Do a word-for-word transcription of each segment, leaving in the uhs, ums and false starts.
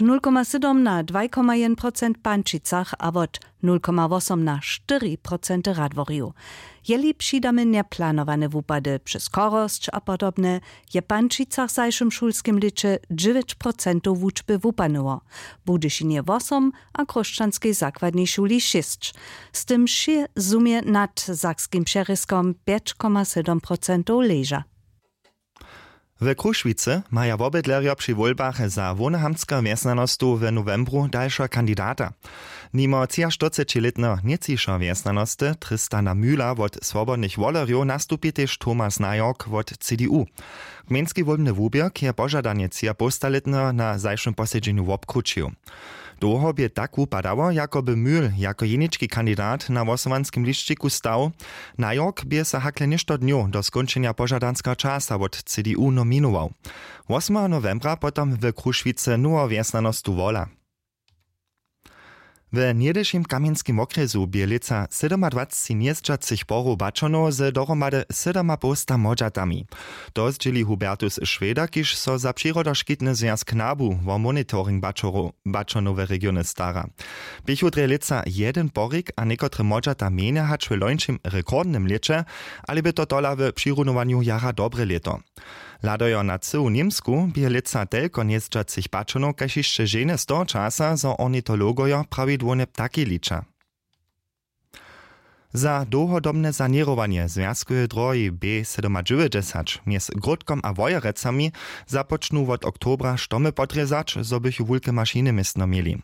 nul koma sydom na dwaj koma jedyn procent w Pančicach a wot nul koma wosom na štyri procenty w Radworju. Jeli přidamy njeplanowane wupady přez chorosć a podobne, je w Pančicach w zašłym šulskim lěće dźewjeć procentow wučby wupanyło, w Budyšinje wosom a w Chróšćanskej zakładnej šuli šěsć. Z tym wšě zumje nad sakskim přerězkom pjeć koma sydom procentow leža. W Krušwicy maja wobydlerjo při wólbach za Wohnhamtsker wjesnjanostow w nowembru dalšeho kandidata. Nimo třiaštyrcećilětneho nětčišeho wjesnjanosty Tristana Mühla wot Swobodnych wolerjow nastupi tež Thomas Najork wot C D U. Gmejnski wólbny wuběrk je požadanje třiapowstalětneho na zašłym posedźenju wobkrućił. Dołho bě tak wupadało, jako by Mühl jako jenički kandidat na hłosowanskim lisćiku stał. Najork bě so hakle něšto dnjow do skónčenja požadanskeho časa wot C D U nominował. Wosmeho nowembra potom w Krušwicy noweho wjesnjanostu wola. W něhdyšim kamjenskim wokrjesu bě lětsa sydomadwacci njezdźacych porow baćonow z dohromady sydomapowsta młodźatami. To zdźěli Hubertus Šweder, kiž so za přirodoškitny zwjazk nabu wo monitoring baćonow, baćonow w regionje stara. Běchu drje lětsa jedyn porik a někotre młodźata mjenje hač w lońšim rekordnym lěće, ale bě to tola w přirunowanju jara dobre lěto. Hladajo na cyłu Němsku bě lětsa telko njezdźacych pačonow kaž hišće ženje z toho časa, zo ornitologojo prawidłownje ptaki liča. Za dołhodobne saněrowanje zwjazkoweje drohi B sydomadźewjećdźesać mjez Grótkom a Wojerecami započnu wot oktobra štomy podrězać, zo bychu wulke mašiny městno měli.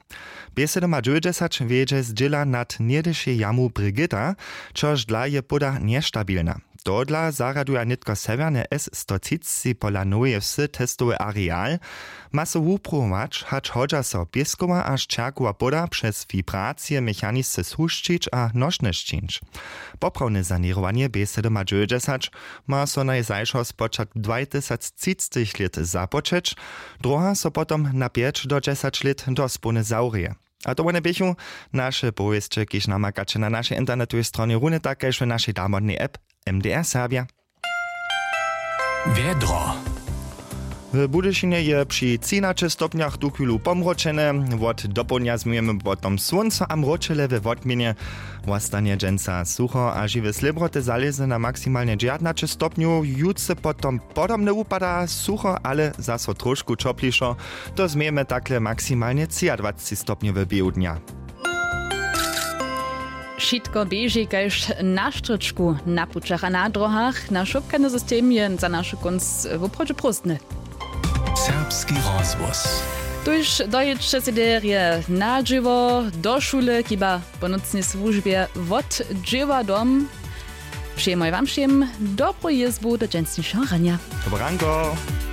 B sydomadźewjećdźesać wjedźe zdźěla nad něhdyšej jamu Brigita, čož dla je poda njestabilna. Tohodla zarjaduja nětko sewjerne S sto třiceći pola noweje wsy testowy areal. Ma so wupruwować, hač hodźa so pěskowa a šćerkowa poda přez wibracije mechanisce shušćić a nošne sćińć. Poprawne saněrowanje B sydomadźewjećdźesać ma so najzašo spočatk dwatysactřicetych lět započeć, druha so potom na pjeć do dźesać lět dospołnje zawrěje. A to wone běchu naše powěsće, kiž namakaće na našej internetowej stronje, runje tak kaž w našej damodnej app M D R Serbja. Wjedro. W Budyšinje je při třinaće stopnjach tuchwilu pomročene. Wot dopołdnja změjemy potom słónco a mročele we wotměnje. Wostanje dźensa sucho a žiwe slěbroty zalězne na maksimalnje dźewjatnaće stopnjow, jutře potom podobne wupada, sucho, ale zaso trošku ćoplišo. To změjemy takle maksimalnje třiadwacci stopnjowy běhu dnja. Wšitko běži kaž na štrčku na pućach a na dróhach. Naš wobchadny system je za našu kónc woprawdźe prózdny. Serbski rozhłos. Tuž dojiće sej derje na dźěło, do šule, chiba po nocnej słužbje wot dźěła dom. Přejemoj wam wšěm dobru jězbu do dźensnišeho ranja. Dobranko.